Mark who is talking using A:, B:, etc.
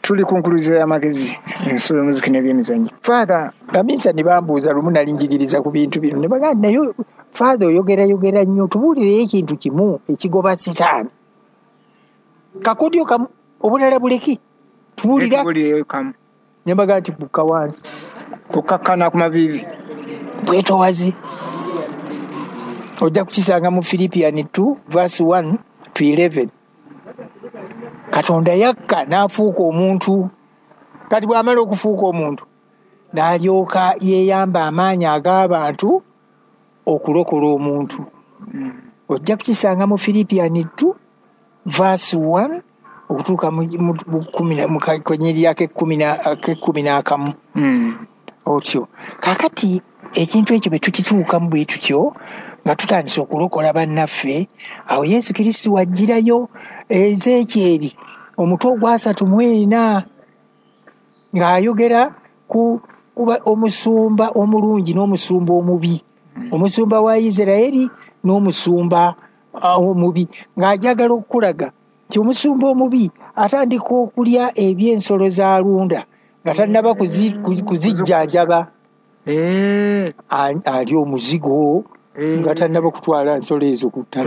A: Tuli ku nkuluze y'amagezi, ensulo y'omuziki n'ebyemizannyo. Father,
B: Baminsani bambuuza lumu, nali njigiriza ku bintu bino, ne bagamba, "Naye Father, oyogerayogera nnyo, tubuulireyo ekintu kimu ekigoba sitaani, kakodyo kamu, obulala buleki, tubuulira."
A: Tubuulireyo kamu.
B: Ne mbagamba nti bukka wansi.
A: Kukakkana ku maviivi.
B: Bwetowazi. Ojja kukisanga mu Philippian 2 verse 1 to 11. Katonda yakka n'afuuka omuntu. Kati bw'amala okufuuka omuntu, n'alyoka yeeyamba amaanyi ag'abantu okulokola omuntu. Ojja kukisanga mu Philippian 2 verse 1 okutuuka mu kanyiriri ak'ekumi n'akamu. Otyo kaakati ekintu ekyo bwe tukituukamu bwe tutyo nga tutandise okulokola bannaffe, awo Yesu Kristo wajjirayo. Ezeekyeri omutwe ogwa 34 ng'ayogera ku kuba omusumba omulungi n'omusumba omubi, omusumba wa Isirayiri n'omusumba omubi, ng'ajagala okukulaga nti omusumba omubi atandika okulya eby'ensolo z'alunda nga tannaba kuzijjanjaba. Ali omuzigo nga tannaba kutwala nsolo ezo ku ttale.